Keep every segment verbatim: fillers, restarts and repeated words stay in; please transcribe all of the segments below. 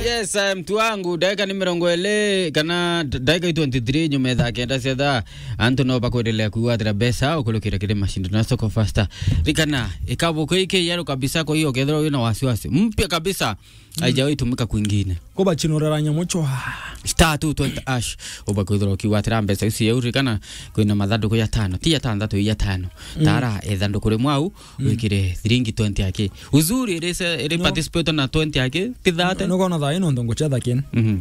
Yes, eh, mtu wangu, ndagika ni mirongo iri kana d-, ndagika i twenty-three nyuma ya thaa kenda cia thaa. Antu no bakwendelea kwigwatira mbeca ukurukira kiri mashindano ya Soko Fasta. Rikana, ikabuku iki yeru kabisa, kwa hiyo ukethirwa wina wasiwasi. Mpya kabisa, haijawahi tumika kwingine. Kubachinurira nyamu chwa. Star two twenty hash. Ubakwithirwa ukigwatira mbeca ici yeu, rikana, kwina mathanduku ya tano. Ti ya tantatu, ya tano. Tara ithanduku rimwe au, wikire thiringi twenty aki. Uzuri, iri se-, iri No. participate na twenty aki, ti thirty. Nukona thaa ino ntu nguchetha kin. Mhm.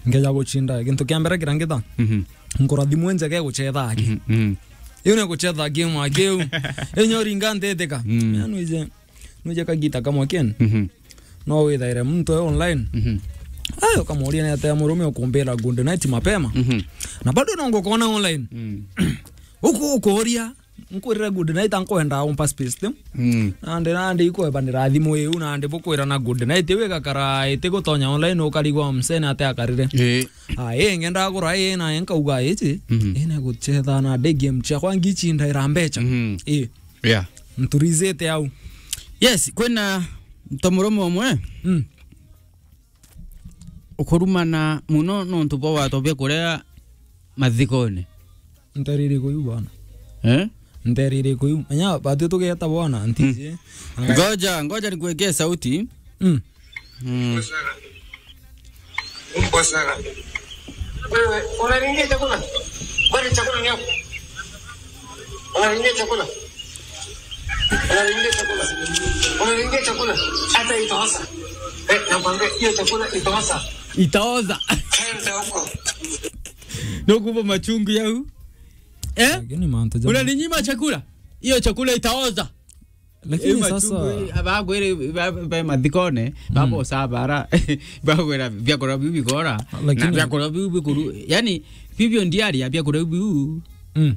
Ngeja guchinda, gintu kia mbere kiria ngita. Mhm. Nkurathimwe njega guchetha aki. Mhm, mhm. Iu ni guchetha game aki iu. Inya uringa ntitika. Mm. Ya nwije, nwije kagita kamwe kin. Mhm. No withaire muntu e online. Mhm. Ayo kamuria ni atia murume ukumbira good night mapema. Mhm. Na bado no ngukona online. Mm. Uku ukuria, nkwirire good night, ankwenda umpa space tu. Mm. Nandi, nandi ikweba ni rathimu iu, nandi bukwira na good night iu igakara iti gutonya online, ukarigwa msene ate akarire. Eh. Ah, ii ngenda gura ii na nkauga iji, Mhm. ii na guchetha na ndi game ciakwa ngichinda ira mbecha. Mhm. Ii. Yeah. Nturizite au. Yes, kwina ntomurume umwe. Mm. Ukurumana muno nontu bwa watobia kuria mathikone. Nterire kuyu bwana. Eh? Nterire kuyu. Menya batu tugeta bwana, ntiji. Ngoja, ngoja nikuwekee sauti. Mm. Mm. Mbwa sana. Wewe, unalingia chakula? Kwani chakula ni yako? Unalingia chakula? Unalingia chakula? Unalingia chakula? Hata itaoza. Eh, nakwambia, hiyo chakula itaoza. Itaoza. Enda huko. Nukuva machungu yau. Eh? Lakini mantu jamaa. Unaninyima chakula? Hiyo chakula itaoza. Lakini sasa machungu, bagwire, ba-, ba-, mathikone, babosa bara, bagwira biakura biu bigora, na lakini biakura biu bikuru, yani, bibio ndiaria biakura biu. Mm.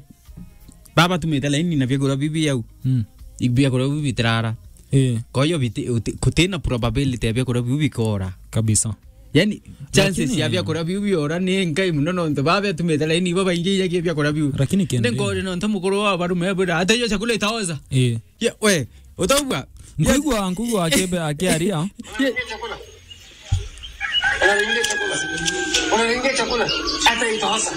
Baba tumite laini na biakura biu biau. Mm. Biakura biu bitirara. Eh. Kwa hiyo biti-, uti-, kutina probability ya biakura biu bikora. Kabisa. Yani, chances ya biakura biu biora ni nkai muno nontu baba tumite laini babaingi ijagia biakura biu. Lakini kende. Ndi nkori nontu mukuru wa barume bwira, "Hata hiyo chakula itaoza." Eh. Ye, we, utaugua? Nkuigua, nkuigua akebe, akiaria. Ye. Unalingia chakula. Unalingia chakula. Hata itaoza.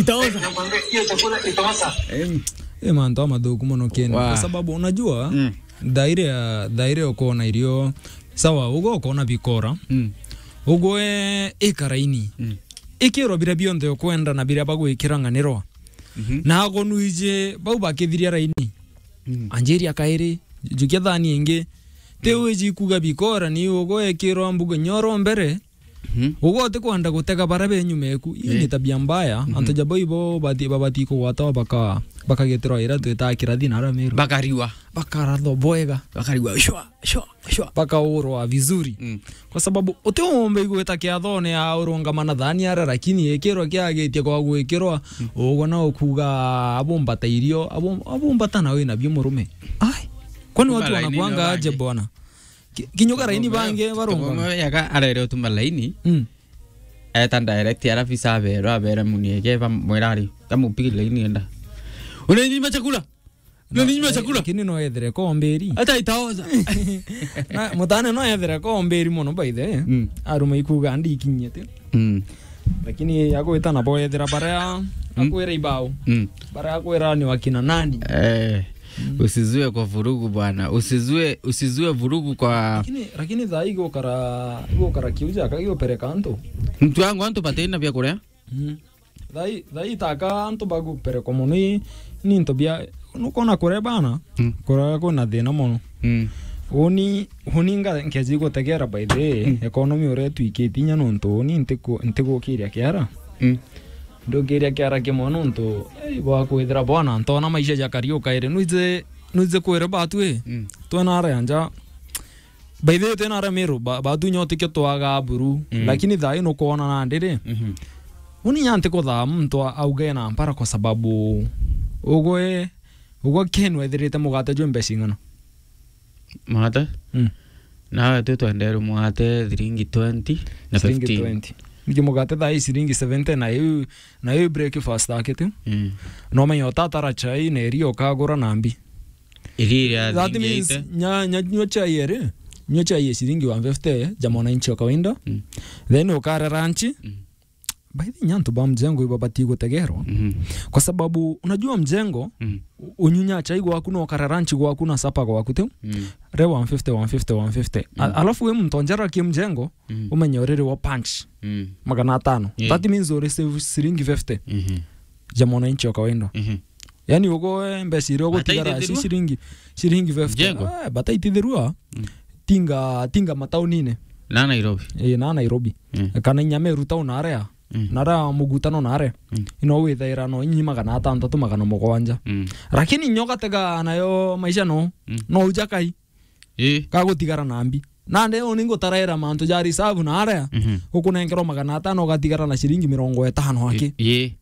Itaoza. Nakwambia, hiyo chakula itaoza. Em. Eh, mantu amathuku muno kende. Wa. Kwa sababu unajua, Mm. thaire ya, thaire ukona irio, sawa, ugo ukona bikora. Mm. Ugwe ikaraini. Mm. Ikirwa biria bionthe ukwenda na biria bagwikira ng'anirwa. Mhm. Na agonwije bau bakithiria raini. Mm. Anjiria kairi, jukia thani ingi. Ti Mm. wiji kuga bikora ni ugwekirwa mbugo nyoro mbere. Mhm. Ugwe utikwenda gutega bara be nyuma eku. Iyo Eh. ni tabia mbaya. Mhm. Antu jabo ibo bati-, babati kugwatwa baka-, bakageterwa ira twita kirathi na ara Meru. Bakariwa. Bakarathwa bwega. Bakariwa shwa, shwa, shwa. Bakaurwa vizuri. Mm. Kwa sababu utiumbe igwita kiathone ya urungama na thani ara, lakini ikirwa kiagitie kwa gwikirwa, Mm. ugwe na ukuga abumbata irio, abum-, abumbata na wina bio murume. Ai. Kwani watu wanakuanga aje bwana? Ki-, kinyuka raini bange barongwa. Yaga arere utuma laini. Mm. Eta direct, alafu isa abero, abere muni ege, ba mwira ari, kamupigi laini enda. Unaninyima chakula? Unaninyima chakula? Lakini no ethere komberi. Hata itaoza. Na mutane no ethere komberi muno, by the way. Mm. Aruma ikuga ndikinyete. Mm. Lakini agwita nabo ethira baria, Mm. akwira ibao. Mm. Baria akwira ni wakina nani? Eh. Mm. Usizue kwa vurugu bwana. Usizue, usizue vurugu kwa Lakini, lakini thaa hii gukara, gukara kiuja, ka giopereka antu. Mtu wangu, antu batina bia kuria. Mm. Thaa hii, thaa hii taka antu baguperekwa muno i, ni into bia, nukona kuria bana, Mm. kuria kwina thina muno. Mm. Uni, uni nga-, nkeji gutegera by the way, Mm. economy uria twikiti inya nontu uni ntiku-, ntigukiria kiara. Mm. Ndukiria kiara kimwe nontu, ei, bwa kwithira bwana, ntona maisha ja Kariuka iri. Nuize, nuize kwire batu, eh. Mm. Twena ara ya nja. By the way, twena ara Meru, ba-, batu nyo tikio twaga buru. Mm. Lakini thaa ino kwona nandi ri. Mhm. Uni nya ntikuthaa muntu a-, auge na mpara kwa sababu ugwe, ugwe Ken wethirite mugate jwe mbeca ing'ana? Mugate? Mm. Nawe tu twenderwe mugate thiringi twenty na fifteen. Thiringi twenty. Niki mugate thaa hii ciringi seventy na iu, na iu breakfast akite. Mm. No menya utatara chai na iria ukagura na mbi. Iria iria That means athingiite. Nya-, nya-, nyua chai eri. Nyua chai ya shilingi one fifty ya mwananchi wa kawaida. Mm. Then ukare lunch. Mm. By the way, antu ba mjengo ibo batii gutegerwa. Mhm. Kwa sababu, unajua mjengo, mm, u-, unyunya chai gwaku na ukare lunch gwaku na supper gwaku tu. Mm. Re one fifty, one fifty, one fifty. A-, mm, alafu we muntu onjera ki mjengo, mm, umenye uriri wa punch. Mm. Magana atano. Yeah. That means uri save shilingi fifty. Mhm. Ja mwananchi wa kawaida. Mhm. Yani, ugo, eh, mbeca iria ugutigara ci ciringi, ciringi fifty. Mjengo? Ah, bataitithirua. Mm. Tinga, tinga mataunine. Na Nairobi. Eh, na Nairobi. Mm. Kana inya Meru town aria. Mm. Na aria mugutano na aria. Mm. Ino withaira no inyi magana atantatu, magana mugwanja. Mm. Lakini nyo gatega nayo maisha no. Mm. No ujakai. Ii. Gagutigara na mbi. Nande uu ningutaraira mantu ja reserve na aria, mhm, ukunenkerwa magana atano ugatigara na ciringi mirongo itano aki. Ii.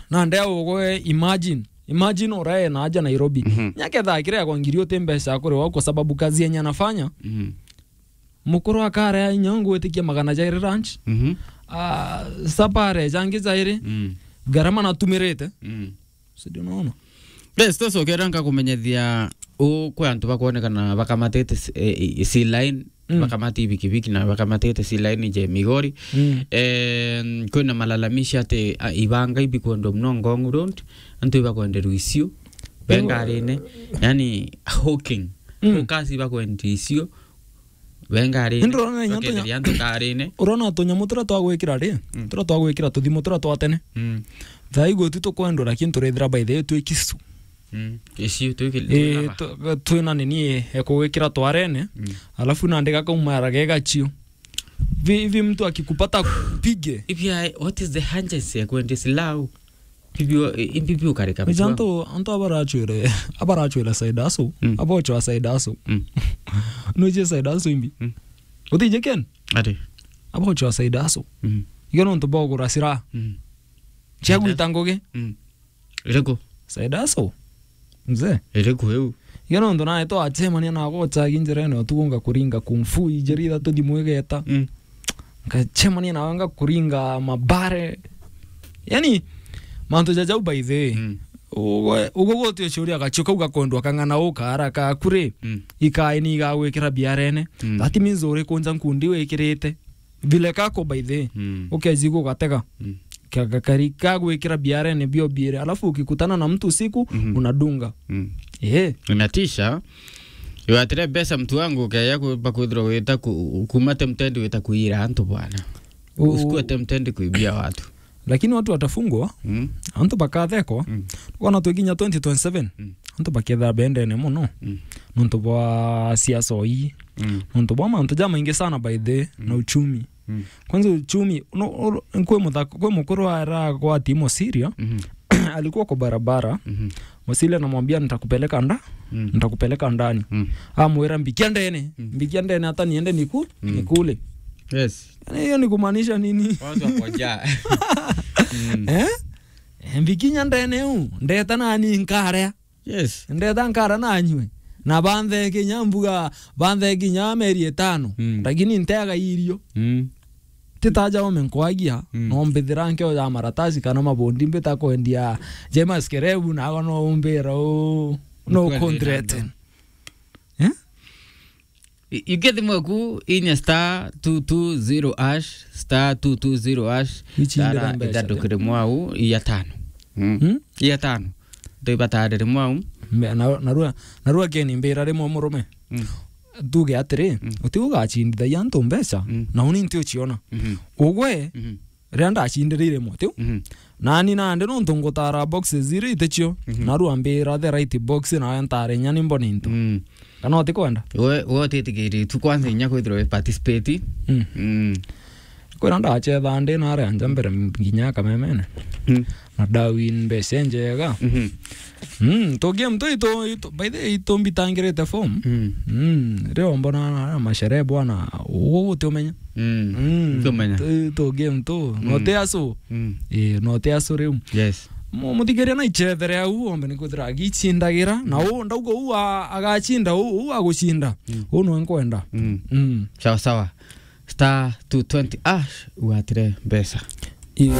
Nande au ugwe, imagine. Imagine urae na aja Nairobi. Mhm. Nyaketha kire kwa ngiri uti mbeca ya kuriwa kwa sababu kazi yenye anafanya. Mhm. Mukuru akarea inya ngwitikia magana jairi lunch. Mhm. Ah, supper are jangi jairi. Mm. Garama natumirite. Mm. Si ndio unaona? Best, tucokera nkakumenyethia u kwi antu bakwonekana bakamatite s-, e, e, sea line, mm, bakamati bikibiki na bakamatite sea line je Migori. Mm. Eh, kwina malalamishi ati, a, ibanga ibikwendwa muno Ngong Road, antu ibakwenderwa icio. Bengarine, yani hawking. Mm. Hawkers ibakwendia icio. Bengarine. Indi urona inya tunya-, bakenderia antu ngarine. Urona tunyamu turia twa gwikira ri? Mm. Turia twa gwikira tuthimu turia twa tene. Mm. Thaa igwe tu tukwendwa, lakini turethira by the way twi kisu. Mm. Icio twi ki-, eh, twi na tu-, twina nini e kugwikira twarene, mm, alafu nandi gakaumara ge gachio. Hivi, hivi mtu akikupata kupige. If I, what is the hardest ya kwendesi lau? Bibi, eh, imbi biu karika. Ija bitu antu, antu abarachwire, abarachwire side hustle, mm, abochwa side hustle. Mm. Nuje side hustle imbi? Mm. Utije Ken? Ati. Abochwa side hustle. Mm. Iga nontu bogura sira. Mm. Chia gwita ngugi. Mm. Iriku? Side hustle. Mzee. Iriku iu? Iga nontu nae twachemania na gochagi njirene utuku ngakuringa kung fu ijiri ithatu thimu igeta. Mm. Ngachemania nawe ngakuringa mabare. Yani, mantu ja jau by the way. Mm. Ugwe, ugwe gwote ucuria gacio kau gakondwa kang'ana ukaara kaku ri, mm, ikae ni igagwikira biarene. Mm. That means uri kunja nkundi wikirite. Vile kako by the way. Mm. Ukejigua ugatega. Mm. Ka-, ka-, kari kagwikira biarene bio biere. Alafu ukikutana na mtu usiku, mhm, unadunga. Mm. Eh. Inatisha. Iwatire mbeca mtu wangu, ukeya ku-, bakwithirwa wita ku-, kuma tempted wita kuira antu bwana. U-, usikuwe tempted kuibia watu. Lakini watu watafungwa, mm, antu bakathekwa. Mm. Wana twikinya twenty twenty-seven, mm, antu bakethira bendene muno. Mm. Nontu bwa siasa ii. Mm. Nontu bwa mantu jamaingi sana by the, mm, na uchumi. Mm. Kwanza uchumi, no, no, kwe muthako, kwe mukuru ara kwa timo Siria, mhm, alikuwa kwa barabara. Mhm. Musili anamwambia, "Nitakupeleka nda-, mm, nitakupeleka ndani." Mm. Amwira, "Mbikia ndene, mm, mbikia ndene hata niende niku-, mm, nikule." Yes. Yani, hiyo ni kumaanisha nini? Watu wako njaa. Mm. Eh? Eh, mbikinya ndene u, ndeta nani nkarea. Yes. Ndeta nkara nanywe. Na banthe kinya mbuga, banthe kinya meri itano. Mm. Lakini nteaga irio. Mm. Titaja ome nkwagia, mm, no mbithira nkeo ya maratasi kana mabondi mbita kwendia James Kerebu, nago no umbira u, no. Nkwendete. Kundrete. Eh? I-, igethi mweku inya star two two zero hash, star two two zero hash, ichindira tara mbeca ithanduku rimwe au, iya tano. Mm. Hmm? Iya tano. Ndibatarire mwau. Me-, na, narua, narua Ken mbira rimwe murume. Mm. Tuge atiri, mm, uti ugachindithagia antu mbeca, mm, na uni nti uchiona. Mhm. Ugwe, mhm, riria ndachindire rimwe tiu. Mhm. Nani nandi nontu ngutara boxes iri itichio, mhm, narua mbira the right box nawe ntare inya ni mbone into. Mm. Kana utikwenda? We, we utitikiri tu kwanza inya kwithirwa we participate. Mm. Mm. Kwira ndachetha ndi naria nja mbere nginya Kamemene. Mm. Na ndawin mbeca njega. Mhm. Mm, to game to ito, ito, by the way, ito mbitangirite form. Mm. Mm, rio mbona na mashere bwana, ugu guti umenya. Mm. Mm. Guti umenya. To, to game to, mm, no te aso. Mm. Eh, no te aso riu. Yes. Mu-, muthikiria na ichethere au, ombe ni kwithira agichindagira, na u, ndauga u a-, agachinda, u, u aguchinda. Mm. U nwe nkwenda. Mm. Mm. Sawa, sawa. Star two twenty hash, ugatire mbeca. Ii.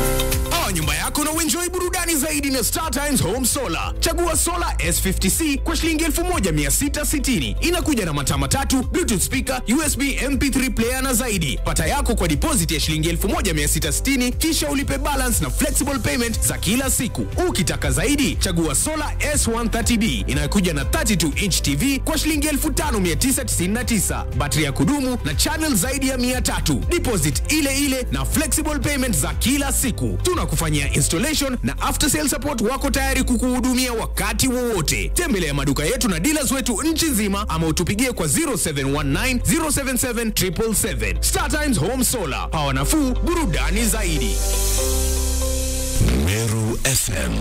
nyumba yako na uenjoy burudani zaidi na Star Times Home Solar. Chagua Solar S fifty C kwa shilingi elfu moja mia sita sitini. Inakuja na mataa matatu, Bluetooth speaker, U S B M P three player na zaidi. Pata yako kwa deposit ya shilingi elfu moja mia sita sitini, kisha ulipe balance na flexible payment za kila siku. Ukitaka zaidi, chagua Solar S one thirty B inayokuja na thirty-two inch T V kwa shilingi elfu tano mia tisa tisini na tisa, battery ya kudumu na channel zaidi ya mia tatu. Deposit ile ile na flexible payment za kila siku. Tunakufanyia installation na after sale support, wako tayari kukuhudumia wakati wowote. Tembelea maduka yetu na dealers wetu nchi nzima ama utupigie kwa zero seven one nine, zero seven seven, triple seven. Star Times Home Solar, power nafuu, burudani zaidi. Meru F M.